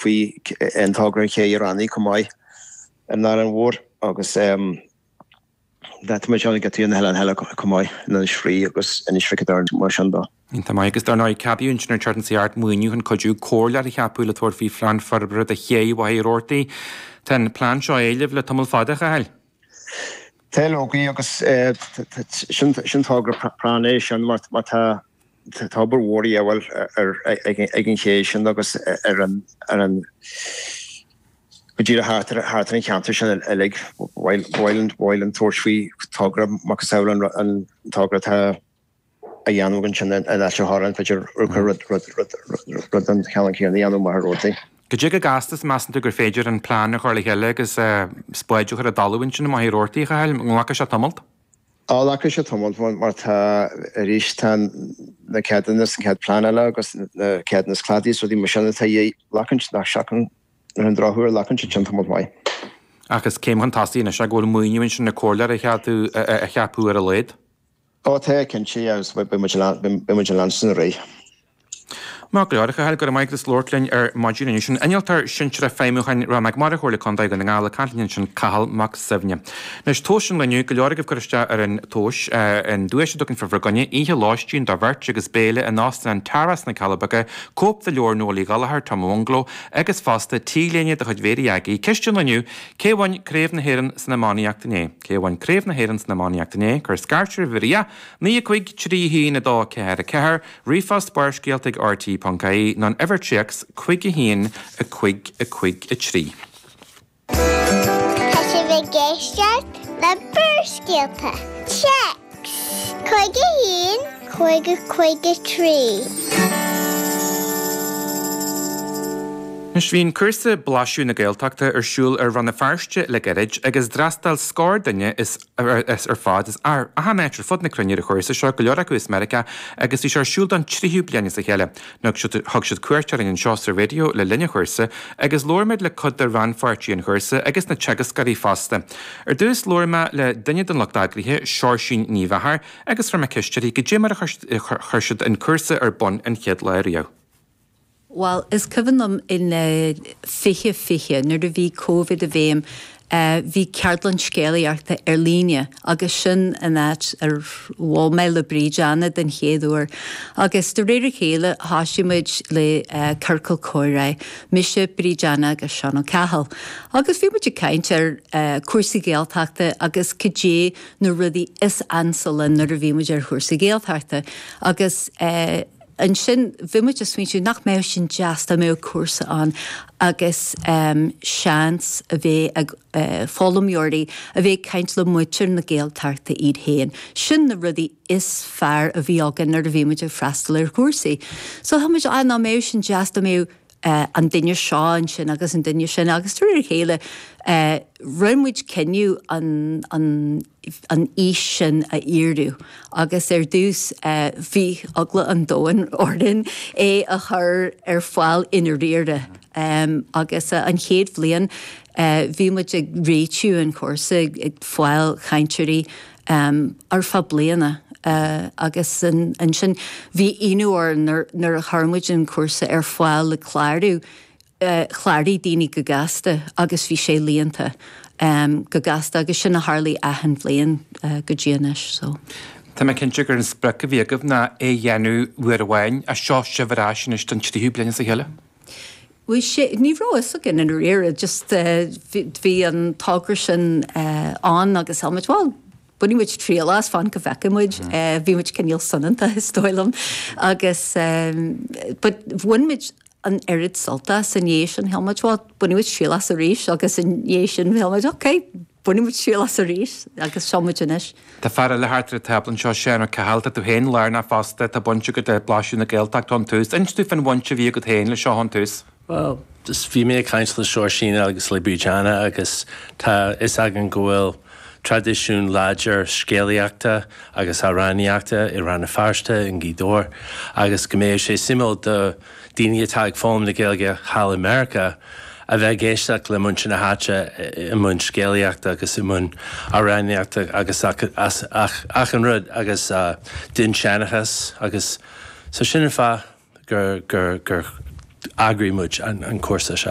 faoi an togra an ché i Raithin chomh maith ar an Árainn Mhór agus tá muid ann ag tú na hoileáin eile chomh maith, in Inis Fraoigh agus Inis Mhic an Doirn mar sin de. Iontach maith agus dar ndóigh ceadaíodh ansin an tseachtain seo thart maoiniú chun cuidiú comhairleoir a cheapadh le tabhairt faoi phlean forbartha do ché Mhachaire Rabhartaigh. Tá an plean seo á éileamh le tamall fada, a Chathail. Tá leoga agus sin togra práinne é sin mar tá tá obair mhór a dhíobháil ag an ché sin agus ar an go díreach thart ar thart ar an cheantar sin uilig. Ba mhaith linn tabhairt faoi togra macasamhail an togra atá á dhéanamh ansin in Ailt an Chorráin, b'fhéidir rud den chineál céanna a dhéanamh i Machaire Rabhartaigh. Cad é chomh gasta is a measann tú gur féidir an plean a chur le chéile agus spáid a chur i dtalamh ansin i Machaire Rabhartaigh, a Chathail? An nglacfaidh sé tamalt? Á, glacfaidh sé tamalt mar tá, arís, tá na ceadúnas, an chéad plean eile agus na ceadúnas cladaigh is rudaí mar sin atá a dhíth. Glacann, nach seacann, ar an drochuair, glacann siad sin tamalt maith. Ach is céim chun tosaigh anois é go bhfuil maoiniú ansin le comhairleoir a cheadú, a cheapadh ar a laghad. Ó tá, cinnte, agus beidh muid ag leanstan ar aghaidh. Maith go leor, a Chathail, go raibh maith agat as labhairt linn ar maidin inniu. Sin Innealtóir Sinsearach Feidhmiúcháin Ráth Mac Mara Chomhairle Contae Dhún na nGall ag caint linn ansin, Cathal Mac Suibhne. Anois, tomhas an lae inniu, go leor agaibh ag cur isteach ar an tomhas, an duais a dtugann fir bhur gcoinne, oíche lóistín do bheirt agus béile in Óstán an Tara sna Cealla Beaga, cóip de leabhar Noel Uí Ghallchóir, Tom ó Bhungaló, agus fosta T-léine de chuid Mhéirí Aggie. Ceist an lae inniu, Cé a bhain Craobh na hÉireann san iománaíocht inné? Cé a bhain Craobh na hÉireann san iománaíocht inné? Cuir scairt ar uimhir a 9 5 3 1 2 4 4, ríomhphost barrscéalta ag rte.ie nó an uimhir téacs 5 1 5 5 3. Tá sibh ag éisteacht le Barrscéalta, Téacs 5 1 5 5 3. Anois bhí an cúrsa Blaiseadh na Gaeltachta ar siúl ar Rann na Feirste le gairid agus d'fhreastail scór duine as ar fad as achan áit ar fud na cruinne ar an chúrsa seo, go leor acu as Meiriceá agus bhí sé ar siúl don tríú bliain as a chéile. Thug siad cuairt orainn anseo sa raidió le linn an chúrsa agus labhair muid le cuid de rannpháirtithe an chúrsa agus na teagascóirí fosta. Ar dtús labhair mé le duine den lucht eagraithe, Seoirsín Ní Mheachair, agus chuir mé ceist uirthi goidé mar a chuir siad an cúrsa ar bun an chéad lá riamh. Bhuel, is cuimhin liom in 2020, nuair a bhí Covid i bhfeidhm, bhí ceardlann scéalaíochta ar líne agus sin an áit ar bhuail mé le Bríd Anna den chéad uair. Agus de réir a chéile thosaigh muid le ciorcal comhrá, mise, Bríd Anna agus Seán Ó Cathail. Agus bhí muid ag caint ar cúrsaí Gaeltachta agus cad é na rudaí is ansa linn nuair a bhí muid ar chúrsaí Gaeltachta. Agus. Ansin bhí muid ag smaointiú nach mbeadh sin deas dá mbeadh cúrsa ann agus seans a bheith ag foghlaimeoirí a bheith ag caint le muintir na Gaeltachta iad féin. Sin na rudaí is fearr a bhí againn nuair a bhí muid ag freastal ar chúrsaí. So shíl muid ah nach mbeadh sin deas dá mbeadh an duine seo ansin agus an duine sin agus de réir a chéile rinne muid cinneadh an an an fhís sin a fhíorú agus ar dtús bhí eagla an domhain orainn é a chur ar fáil i ndáiríre agus an chéad bhliain bhí muid ag réitiú an chúrsa ag fáil cainteoirí ar feadh bliana agus ansin bhí ionadh orainn nuair a chuir muid an cúrsa ar fáil le clárú, chláraigh daoine go gasta agus bhí sé líonta go gasta agus sin a tharlaigh achan bhliain go dtí anois so. Tá mé cinnte gur an sprioc a bhí agaibh ná é a dhéanamh uair amháin ach seo sibh ar ais anois don tríú bliain as a chéile. Bhí sé, ní raibh fhios againn i ndáiríre, just bhí an togra sin ann agus shíl muid, bhuel, bainfidh muid triail as, fan go bhfeicfidh muid. Bhí muid cineál soineanta is dóigh liom agus but bhain muid an oiread sult as i ndiaidh sin, shíl muid, bhuel, bainfidh muid triail as arís agus i ndiaidh sin shíl muid, ok, bainfidh muid triail as arís agus seo muid anois. Tá fear eile thart ar an tábla anseo, Seán Ó Cathail, tá tú féin lárnach fosta, tá baint agat le Blaiseadh na Gaeltachta ón tús. Inis dúinn fán bhaint a bhí agat féin le seo ón tús. Bhuel, just bhí mé ag caint le Seoirsín agus le Bríd Anna agus tá fhios againn go bhfuil traidisiún láidir scéalaíochta agus amhránaíochta i Rann na Feirste, i nGaoth Dobhair agus go mbeadh sé suimiúil do daoine atá ag foghlaim na Gaeilge thall i Meiriceá a bheith ag éisteacht le muintir na háite i mbun scéalaíochta agus i mbun amhránaíochta agus achan rud agus dinnseanchas agus so sin an fáth gur gur gur. D'eagraigh muid an cúrsa seo.